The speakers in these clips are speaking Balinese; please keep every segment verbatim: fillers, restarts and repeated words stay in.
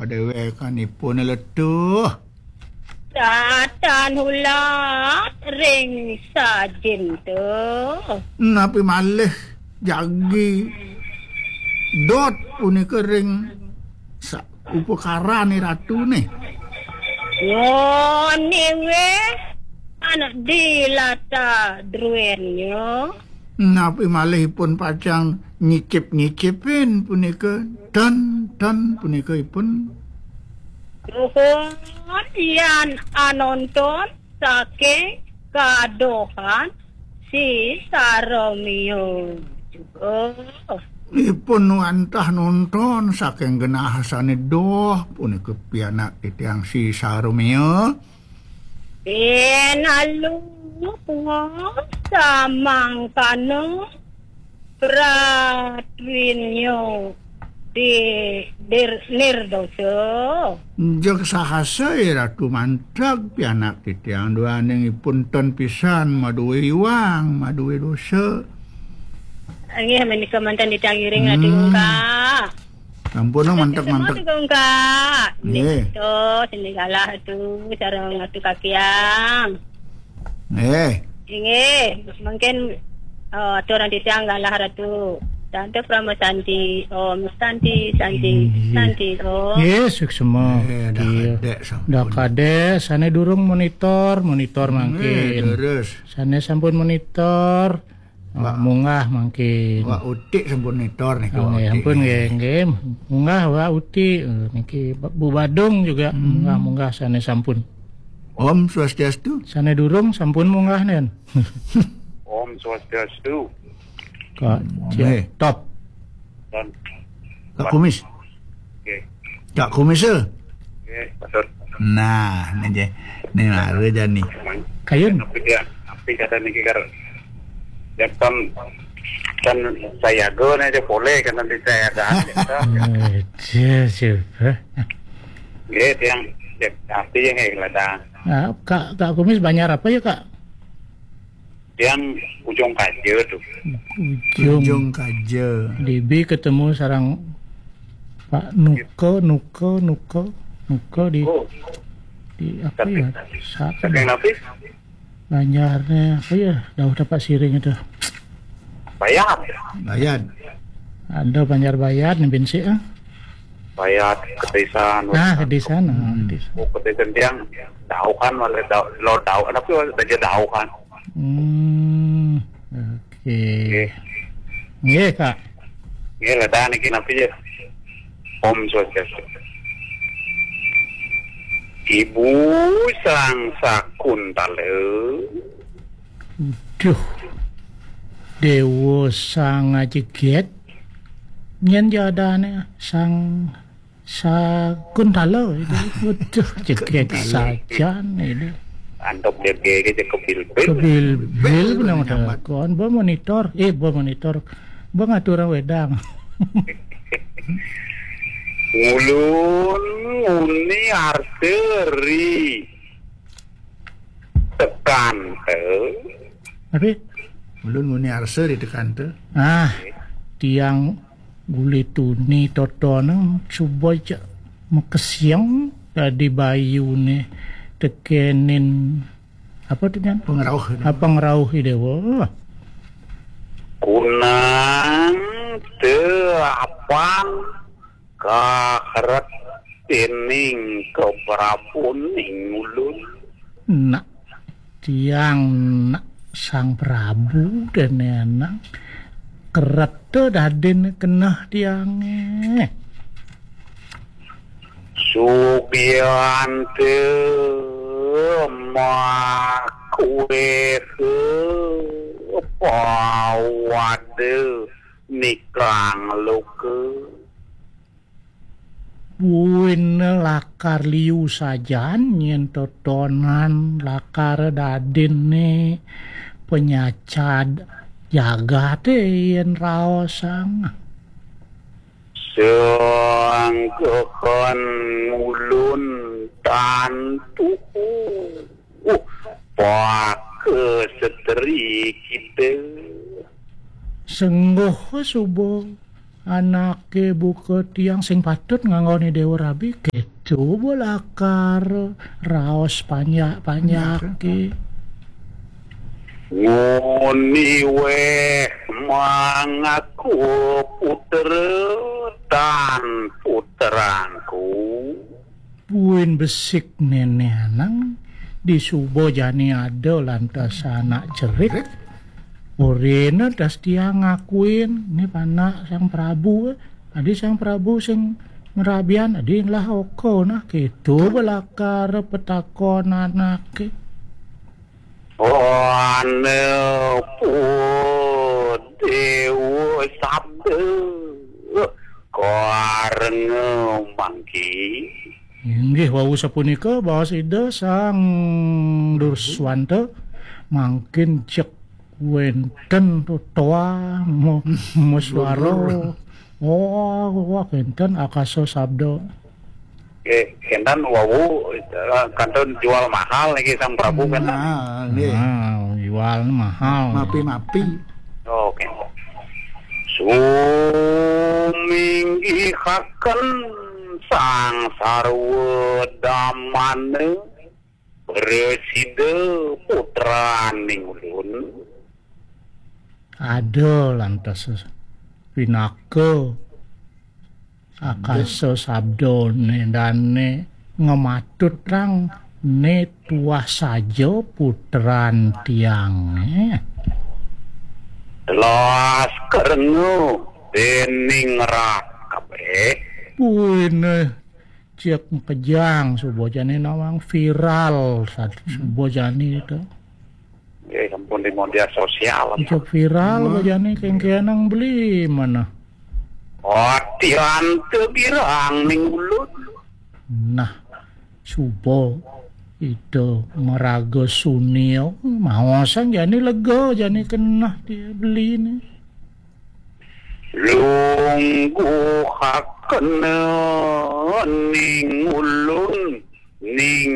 Déwékanipun letuh. Tatan hulat ring sajin tu. Napi malih jagi dot punika ring sa-, upakarané ratuné? Ngoning wéh, anak dilata druénnya. Napi malih ipun pacang nyicip-nyicipin punika? Ten, ten punika ipun. Nuhun yan anonton saking kadohan si Saromio juga. Ipun wantah nonton saking genah sané doh punika pianak titiang si Saromio. Pinalu samangkana pratwinyo di dir-, nirdosa. Jeg sahasa, eh, Ratu manteg pianak titiang duaning ipun ten pisan madué iwang, madué dosa. Inggih, menika manten titiang iring Ratu Ungkak. Sampun, no, manteg, manteg. Ratu Ungkak. Nggih. Nggih, to, sini galah tu, sareng Ratu Kakiang. Nggih. Inggih, mungkin, eh, aturan titiang galah Ratu. Tante Prama Santi, Om Santi, Santi, Inggih. Santi, Om. Nggih, suksma. Nggih, dah kadek sampun. Dah kadek, sané durung monitor, monitor mangkin. Nggih, terus. Sané sampun monitor, Wak. Munggah mangkin. Wak Utik sampun nitor niki, oh, Wak nggih, Utik. Sampun nggih, nggih. Munggah Wak Utik. Eh, niki Bu Badung juga munggah-munggah sané sampun. Om Swastiastu. Sané durung sampun munggah nen. Om Swastiastu. Kak Nggih. Top. Dan Kak Kumis. Nggih. Kak Kumis, eh? Nggih, matur. Nah, ini je. Ini mara jani. Kayun. Tapi dia, tapi kata niki kar, dia kan, kan saya go nih, dia boleh kan nanti saya ada. Eh, dia siapa? Nggih, tiang, dia, tapi yang nggih, lada. Nah, Kak, Kak Kumis banjar apa ya, Kak? Tiang Ujung Kaja tuh. Ujung. Ujung Kaja. Dibi ketemu sareng Pak Nuka, Nuka, Nuka, Nuka di, Oh. Di apa ya? Saking napi? Banjarnya apa ya? Dauh dapat siring itu. Bayat. Bayat. Ada Banjar Bayat nih, bensi, ah. Bayat, Kedisan. Nah, Kedisan, ah, Kedisan. Oh, Kedisan tiang dauh kan, malah dauh, lo dauh. Kenapa aja dauh kan? Hmm, oke. Nggih. Nggih, Kak. Nggih, lada niki napi ya? Om Swastiastu. Ibu Sang Sakuntala. Duh. Déwa Sang Ajegét. Nyén jadané Sang Sakuntala itu. Waduh, jegét sajan itu. Antuk jegét aja kebilbil. Kebilbil, benar-benar. Kon, ba monitor, eh, ba monitor. Ba ngaturang wedang. Ngulun nguni arsa ri tekanta. Tapi ulun nguni arsa ri tekanta. Ah, tiang uli tuni totonan suba ja makesiang dadi bayuné tekenin apa tuh, Nyan? Pangrauh. Ah, pangrauh Déwa. Kunang teu apang kaheret dening keprabun ing ulun. Nak tiang nak Sang Prabu dene nang kereta dadin keneh tiange. Subiante makuehe pawade nikang luka. Buin lakar liu sajan yen totonan lakar dadinne penyacad jagate yen raosang. Sangkeken ulun tantu pake setri kita. Sengguh suba anaké buka tiang sing patut nganggoni Déwa Rabi, kéto ba lakar raos panjak-panjaké. Nguni wéh mangaku putra tan putrangku. Buin besik Néné Anang, disuba jani ada lantas anak cerik. Orina tas tiang ngakuin, né panak Sang Prabu. Adi Sang Prabu sing ngrabian, adi lah oko nah, kéto ba lakar petakon anaké. Ana pa Déwa Sabda karenga mangké. Inggih wau sapunika baos Ida Sang Duswanta, mangkin cek wénten totoa mo-, moswara. Oh, wah, kénten akasa sabda. Nggih, kénten wau, eh, kantun jual mahal niki Sang Prabu, kénten. Nah, nggih. Nah, jual mahal. Mapi-mapi. Oke. Suminggihaken Sang Sarwa Damana, prasida putraning ulun. Ada lantas pinaka akasa sabdané dané ngematut rang né tuah saja putran tiangé. Telas kerengu dening rat kabeh. Buin, eh, cek kejang suba jani nawang viral sad-, suba jani to. Nggih, sampun di media sosial. Cek viral ba jani kengkenang beli mana. Atian tegirang ning ulun. Nah, suba itu maraga sunil maosan jani lega jani kenah dia beli ni. Lungguhakena ning ulun ning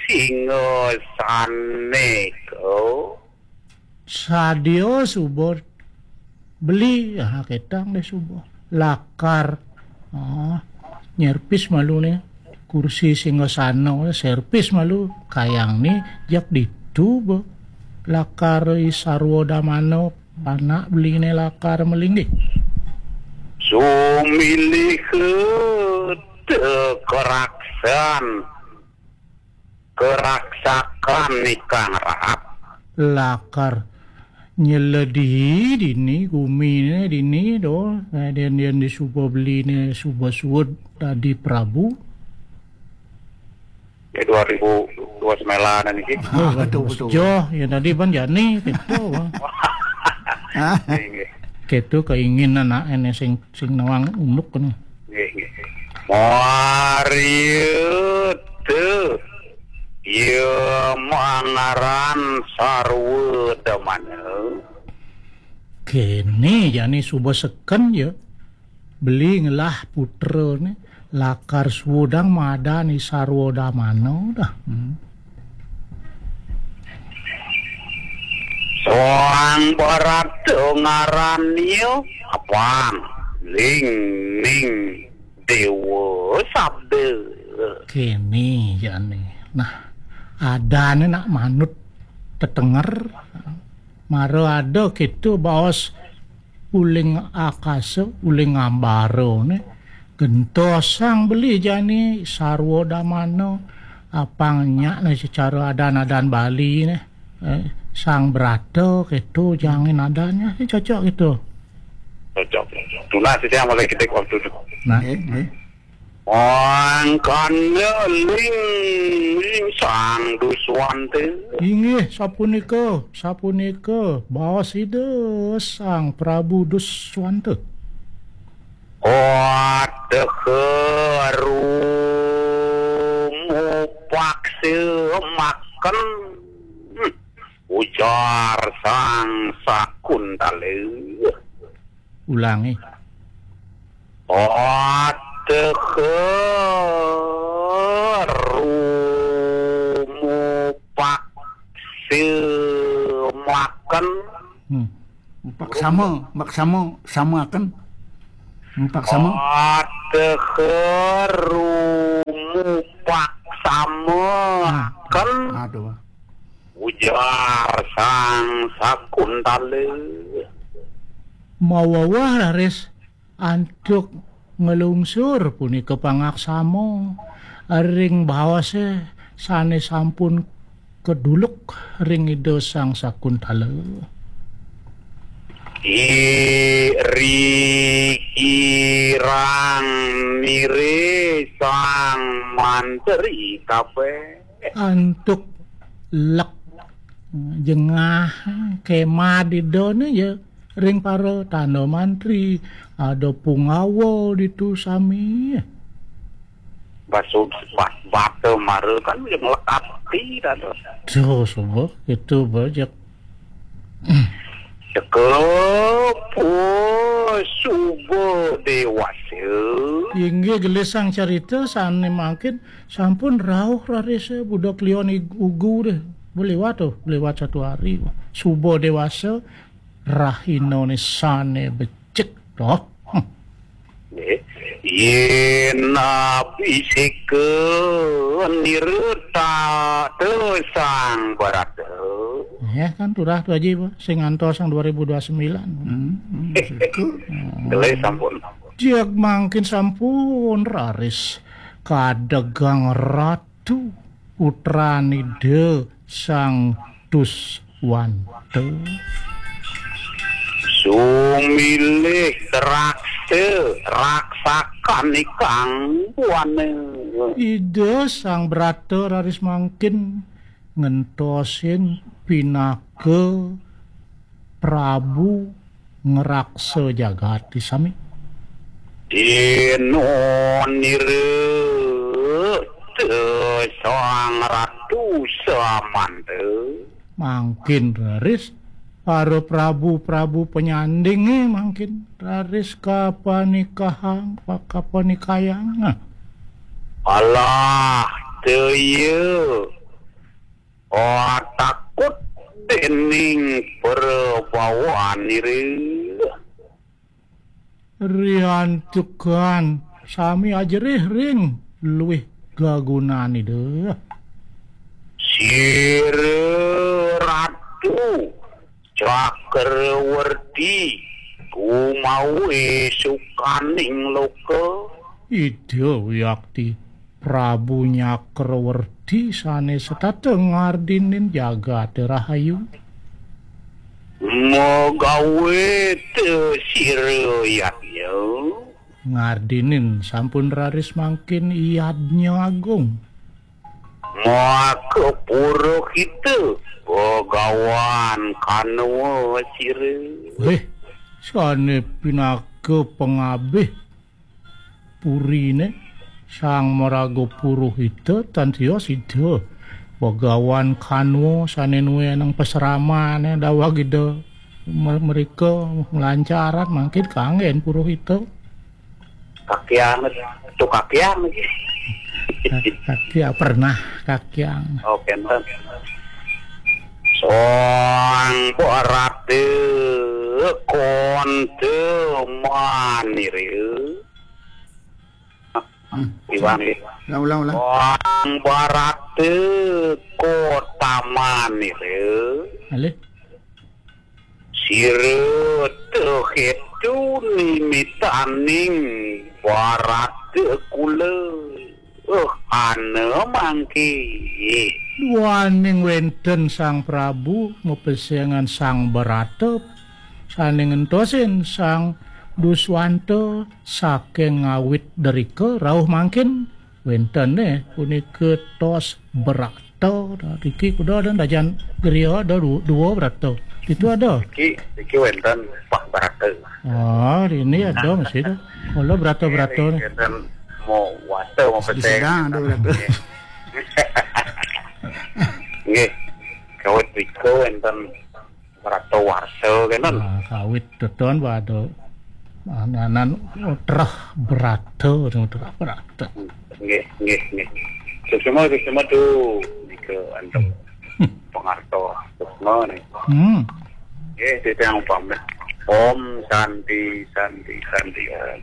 singa saneka. Sadia suba beli, ah, ketang deh suba. Lakar, ah, nyerpis malu nih. Kursi singa sana, serpis malu. Kayang nih, jak ditu ba. Lakar i sarwa damana. Panak beliné lakar malinggih. Sumilih te keraksan, keraksakan ikang raat. Lakar nyeledihi dini, guminé dini, do, dén-dén di suba beliné, suba suud dadi prabu. Ya, dua ribu dua sembilan niki. Oh, ah, betul, betul. Joh, ya tadi ban jani, gitu, Bang. Hah? Nggih, nggih. Gitu keinginan anak ini sing, sing nawang unduk kan. Nggih, nggih. Mariet. Ya mangaran sarwa damana. Kene jani suba seken ya. Beli ngelah putra ni lakar suudang madan i sarwa damana dah. Hmm. Soang barata ngaran ia apang ling ning dewa sabda. Kene jani. Nah, adane nak manut tetenger. Mara ada keto baos uling akasa, uling ambara ne. Gentosang beli jani sarwa damana. Apang nyak ne secara adan-adan Bali ne. Eh, sang berata keto jangin adannya. Eh, cocok gitu. Cocok. Tunas sih yang mulai kita waktu itu. Nah. Nggih, nggih. Mangkana ling ling Sang Duswanta. Inggih, sapunika, sapunika, baos Ida Sang Prabu Duswanta. Ateha rumupaksa makan, ujar Sang Sakuntala. Ulangi. Ateha rumupaksa makan. Hmm. Upak sama, mak sama, samakan. Mupak sama. Ateher rumupak sama. Nah, kan aduh. Ujar Sang Sakuntala. Mawawah raris antuk nglungsur punika pangaksama ring baosé sané sampun keduluk ring Ida Sang Sakuntala. Iri kirang nire Sang Mantri kabéh. Antuk lek jengah kemad Ida né ya ring para tanda mantri, ada pungawa ditu sami. Basud bata mara kan yang lekati dados. Duh, suba itu bajak. Cekep, oh, suba dewasa. Inggih gelisang carita sané mangkin sampun rauh raris budak lion ig- ugu deh. Beliwat tuh, beliwat satu hari. Suba dewasa, rahina né sané becik toh. Nggih. Yén abisika nirta te Sang Barata. Ya kan turah tu aja, Bu. Sing ngantos sang dua ribu dua puluh sembilan. Hmm, hmm, situ. Gelé sampun. Diak mangkin sampun raris kadegang ratu putran Ida Sang Duswanta. Sumilih raksa, raksakan ikang buana. Ida Sang Brata raris mangkin ngentosin pinaka Prabu ngraksa jagati sami. Dina nira te Sang Ratu Samanta. Mangkin raris para prabu-prabu penyandingé mangkin raris kapanikahang, pa- kapanikayang. Nah. Alah, te iya. Oh, takut dening prabawan nira. Riantukan sami ajerih ring luih gagunan Ida. Sira Ratu Cakrawerti gumawe sukaning loka. Ida wiakti Prabu Nyakrawerti sane setata ngardinin jagate rahayu. Magawe te sira yadnya. Ngardinin sampun raris mangkin yadnya agung. Maka purohita Bagawan Kanwa sira. Weh, sane pinaka pangabih purine Sang Maraga Purohita tan tios Ida Bagawan Kanwa sane nueneng pasramane daweg Ida me- merika nglancaran mangkin kanggen purohita. Kakiang, tu kakiang. Kakiang pernah kakiang. Oh, kenten. Sang Barata konta manira. Hmm. Iwang, eh. Ulang, ulang, ulang. Sang Barata kota manira. Alih. Sira tehetu nimitaning Barata kula. Uh, ana mangke. Duaning wenten Sang Prabu mapesengan Sang Barata sane ngentosin Sang Duswanta saking ngawit derika rauh mangkin wentene punika tos Barata. Riki kuda ada dajan griya ada du- dua Barata. Itu ada. Iki iki wenten Pak Barata. Ah, ini ada masih ada. Mula Barata-Barata ni. Wenten mau wasta mau Di pesek. Sedang ada Barata. Nggih. Kawit rika wenten Barata warsa kenten. Ah, kawit teton pada anan terah Barata, terah Barata. Nggih, nggih, nggih. Suksma, suksma tu nika antuk Hmm. Pangarto. Suksma ni. Hmm. Nggih, titiang upami. Om Santi, Santi, Santi, Om.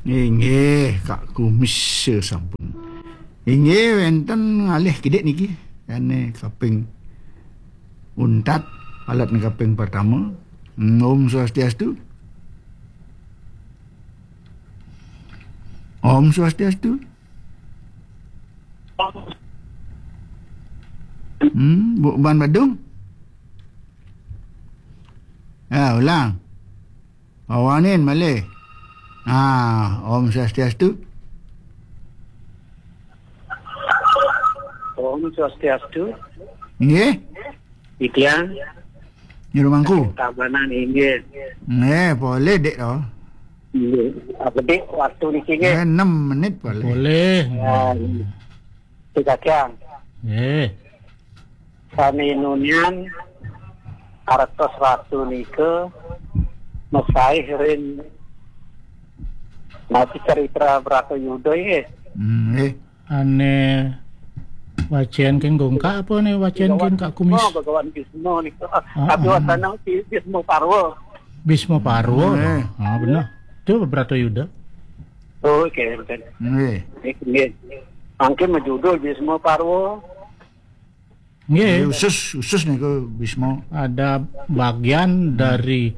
Inggih, Kak Kumis sampun. Inggih, wenten ngalih kidik niki. Ane kaping untat, alat kaping pertama. Om Swastiastu. Om Swastiastu. Hmm, Bu Ban Badung. Ya, ulang. Awanin malih. Ah, Om Swastiastu. Om Swastiastu. Nggih. Titiang. Nyuruh mangku. Tabanan inggih. Nggih, boleh, Dik, to. Inggih. Apa, Dik, waktu niki nggih? Eh, enam menit boleh. Boleh. Ya, Dik Kacang. Nggih. Sami nunian artos ratu nika mesaih ring mati cerita Bratayuda nggih. Hmm, nggih. Ane wacen king gongkak apa ne wacen king Kak Kumis? Bhagawan Bisma nika. Ah, tapi ah. Wasana Bi-, Bisma Parwa. Bisma Parwa. Eh. Ah, bener. Itu Bratayuda. Oh, oke, betul. Nggih. Nggih. Mangke majudul Bisma Parwa. Nggih. Nggih, usus, usus niku Bisma. Ada bagian dari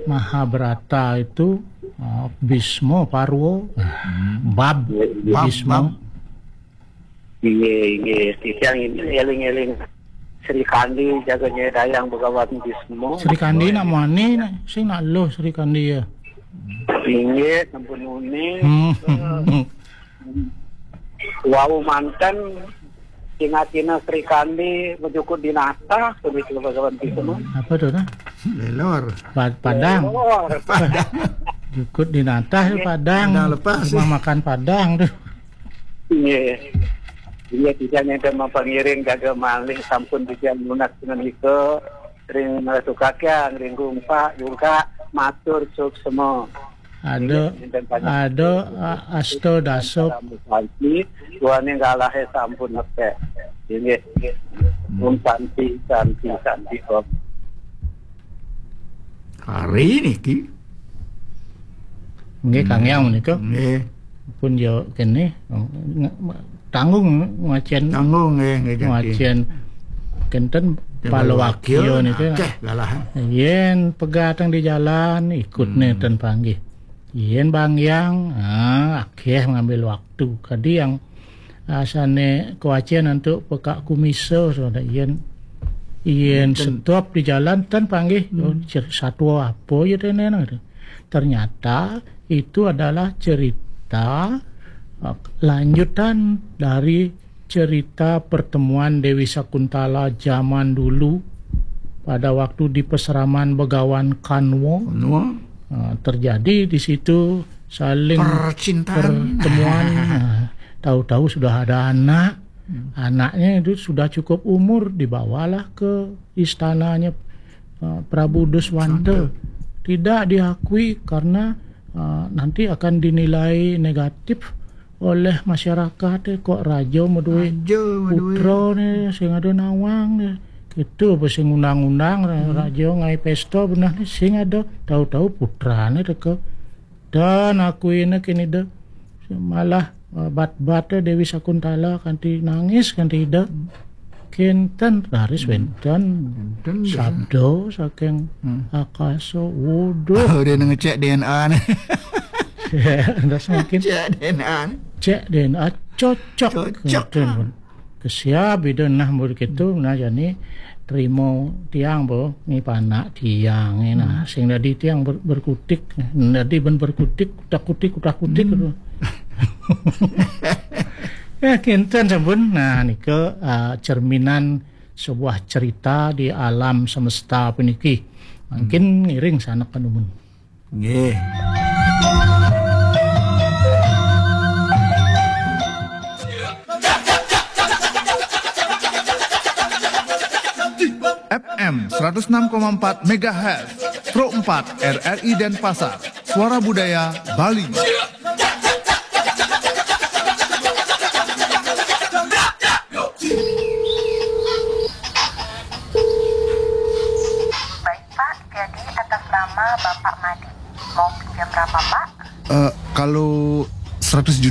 Mahabharata itu, uh, Bisma Parwa, bab Nggih, nggih. Bab, Bisma. Bab. Inggih, inggih. Titiang ini eling-eling Sri Kandi jaga nyedayang Bhagawan Bisma. Sri Kandi nak mani nak sing nak loh Sri Kandi ya. Inggih, sampun muni. Hmm. Wau manten ingatina Sri Kandi majukut dinatah, begitu Bhagawan Bisma. Apa tuh, nah? Lelor. Pa-, Padang. Lelor. Padang. Jukut dinatah Inggih. Padang. Padang lepas, Rumah eh. Makan Padang tuh. Inggih. Inggih, titiang nenten mapangiring jaga malih sampun titiang nunas menika ring Ratu Kakyang, ring Gungpak, Gungkak, matur suksma. Ada, Inggih, nenten panjang. Ada, a-, asta dasa. Sampun santi, duaning galahe sampun nepek. Inggih. Hmm. Om santi, santi, santi, Om. Hari niki. Nggih, Kang Yang menika. Nggih. Pun yo kene, ng-, tanggung ngwacen. Tanggung, nggih, nggih, jati. Ngwacen kenten Kenten palawakya palawakya, niku. Akeh lalahan. Yen pegateng di jalan, ikut Hmm. nenten panggih. Yen bangyang, ah, akeh ngambil waktu. Kadi yang asane kewacen antuk pekak kumisa, saudara. Yen, yen Nenten. Stop di jalan, ten panggih. Hmm. Oh, cer-, satwa apa ya tenen, gitu. Ternyata itu adalah cerita, eh, lanjutan dari cerita pertemuan Dewi Sakuntala zaman dulu pada waktu di peseraman Begawan Kanwa. Kanwa. Eh, terjadi di situ saling Percintaan. Pertemuan. Eh, tahu-tahu sudah ada anak. Hmm. Anaknya itu sudah cukup umur, dibawalah ke istananya, eh, Prabu Duswanta. Duswanta. Tidak diakui karena, eh, nanti akan dinilai negatif oleh masyarakat, eh, kok raja maduwe Raja maduwe. Putra ne sing ada nawang ne. Gitu apa sing undang-undang ra-, Hmm. raja ngai pesta benah ne sing ada tahu-tahu putrane teka. Dan aku ini kini de malah, eh, bat-bat Dewi Sakuntala kanti nangis kanti ida. Kinten raris Hmm. wenten Kinten, ya. Sabda saking Hmm. akasa. Waduh. Oh, dia ngecek D N A ne. Ndak semakin Cek D N A ne. Cek D N A cocok. Cocok. Kinten lah. Pun. Kesiab ida nah mun gitu, nah jani terima tiang bo, ni panak tiang ni nah. Hmm. Sing dadi tiang ber-, berkutik, dadi ben berkutik, utak-kutik, utak-kutik Hmm. gitu. Ya, kinten sampun. Nah, nika, ah, cerminan sebuah cerita di alam semesta puniki. Mungkin Hmm. ngiring sanak kanumun. Nggih. F M seratus enam koma empat megahertz, Pro empat R R I Denpasar, Suara Budaya Bali. Baik, Pak. Jadi, atas nama Bapak Madi. Mau pinjam berapa, Pak? Eh, kalau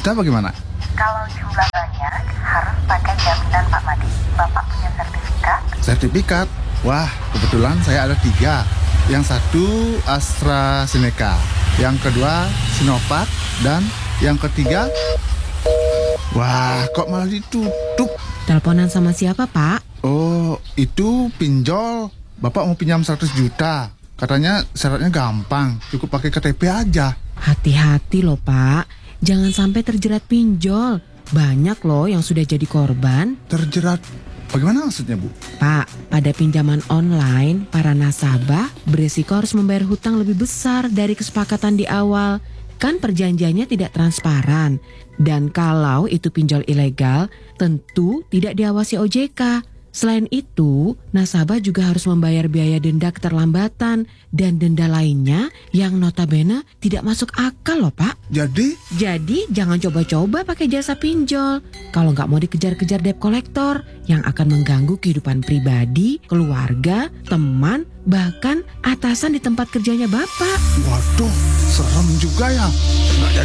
Kita bagaimana? Kalau jumlah banyak, harus pakai jaminan Pak Made. Bapak punya sertifikat? Sertifikat? Wah, kebetulan saya ada tiga. Yang satu AstraZeneca, yang kedua Sinovac, dan yang ketiga... Wah, kok malah ditutup? Teleponan sama siapa, Pak? Oh, itu pinjol. Bapak mau pinjam seratus juta. Katanya syaratnya gampang, cukup pakai K T P aja. Hati-hati loh, Pak. Jangan sampai terjerat pinjol. Banyak loh yang sudah jadi korban. Terjerat? Bagaimana maksudnya, Bu? Pak, pada pinjaman online, para nasabah beresiko harus membayar hutang lebih besar dari kesepakatan di awal. Kan perjanjiannya tidak transparan. Dan kalau itu pinjol ilegal, tentu tidak diawasi O J K. Selain itu, nasabah juga harus membayar biaya denda keterlambatan dan denda lainnya yang notabene tidak masuk akal loh, Pak. Jadi? Jadi, jangan coba-coba pakai jasa pinjol kalau nggak mau dikejar-kejar debt collector yang akan mengganggu kehidupan pribadi, keluarga, teman, bahkan atasan di tempat kerjanya Bapak. Waduh, serem juga ya. Nggak